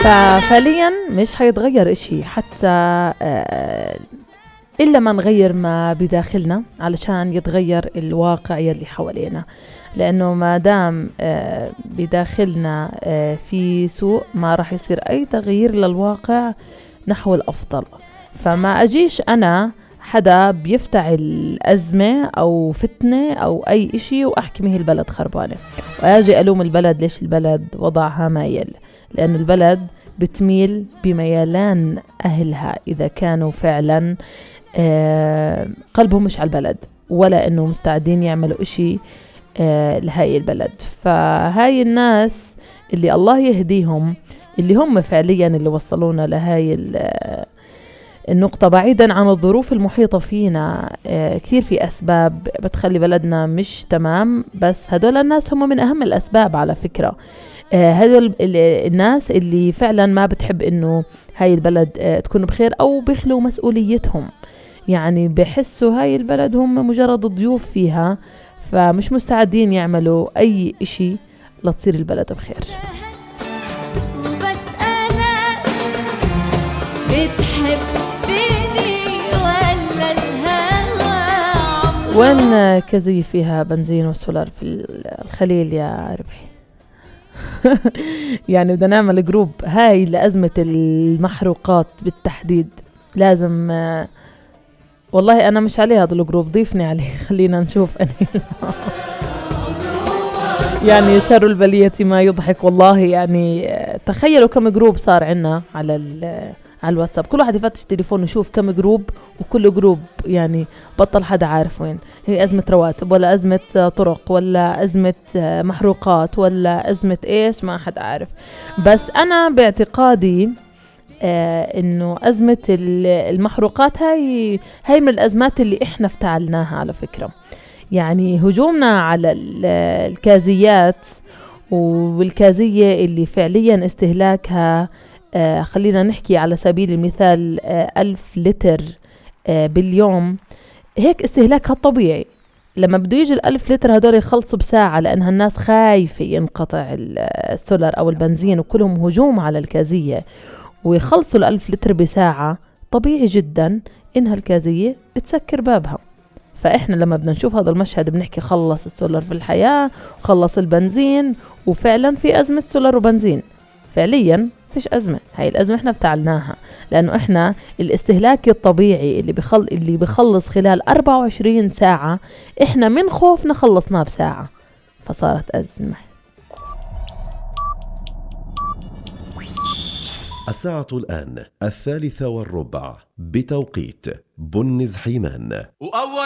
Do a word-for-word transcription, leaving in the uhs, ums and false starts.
ففعليا مش حيتغير اشي حتى آه إلا ما نغير ما بداخلنا علشان يتغير الواقع يلي حوالينا. لأنه ما دام آه بداخلنا آه في سوء ما راح يصير أي تغيير للواقع نحو الأفضل. فما أجيش أنا حدا بيفتعل أزمة أو فتنة أو أي إشي وأحكي مه البلد خربانة وأجي ألوم البلد ليش البلد وضعها مايل. لأن البلد بتميل بميلان أهلها إذا كانوا فعلا آه قلبهم مش على البلد ولا إنه مستعدين يعملوا إشي آه لهاي البلد. فهاي الناس اللي الله يهديهم اللي هم فعليا اللي وصلونا لهاي النقطة بعيدا عن الظروف المحيطة فينا. آه كثير في أسباب بتخلي بلدنا مش تمام، بس هدول الناس هم من أهم الأسباب على فكرة. آه هدول الناس اللي فعلا ما بتحب إنه هاي البلد آه تكون بخير أو بيخلوا مسؤوليتهم، يعني بحسوا هاي البلد هم مجرد ضيوف فيها، فمش مستعدين يعملوا أي إشي لتصير البلد بخير. وبس أنا بتحبني ولا الهوى؟ وين كزي فيها بنزين وسولار في الخليل يا ربحي؟ يعني بدنا نعمل جروب هاي لأزمة المحروقات بالتحديد. لازم والله أنا مش عليه هذا الجروب، ضيفني عليه خلينا نشوف أنا. يعني شر البلية ما يضحك والله. يعني تخيلوا كم جروب صار عنا على على الواتساب، كل واحد يفتش تليفون ويشوف كم جروب، وكل جروب يعني بطل حدا عارف وين هي أزمة رواتب ولا أزمة طرق ولا أزمة محروقات ولا أزمة إيش، ما حد عارف. بس أنا باعتقادي آه إنه أزمة المحروقات هاي هاي من الأزمات اللي إحنا افتعلناها على فكرة. يعني هجومنا على الكازيات والكازية اللي فعليا استهلاكها آه خلينا نحكي على سبيل المثال آه ألف لتر آه باليوم، هيك استهلاكها الطبيعي. لما بده يجي الألف لتر هدول يخلصوا بساعة لأنها الناس خايفة ينقطع السولار أو البنزين، وكلهم هجوم على الكازية ويخلصوا الألف لتر بساعة، طبيعي جدا إنها الكازية تسكر بابها. فإحنا لما بدنا نشوف هذا المشهد بنحكي خلص السولار في الحياة وخلص البنزين، وفعلا في أزمة سولار وبنزين. فعليا فيش أزمة، هاي الأزمة إحنا افتعلناها لأنه إحنا الاستهلاك الطبيعي اللي بخل اللي بخلص خلال أربعة وعشرين ساعة إحنا من خوفنا خلصناه بساعة، فصارت أزمة. الساعة الآن الثالثة والربع بتوقيت بنز حيمان.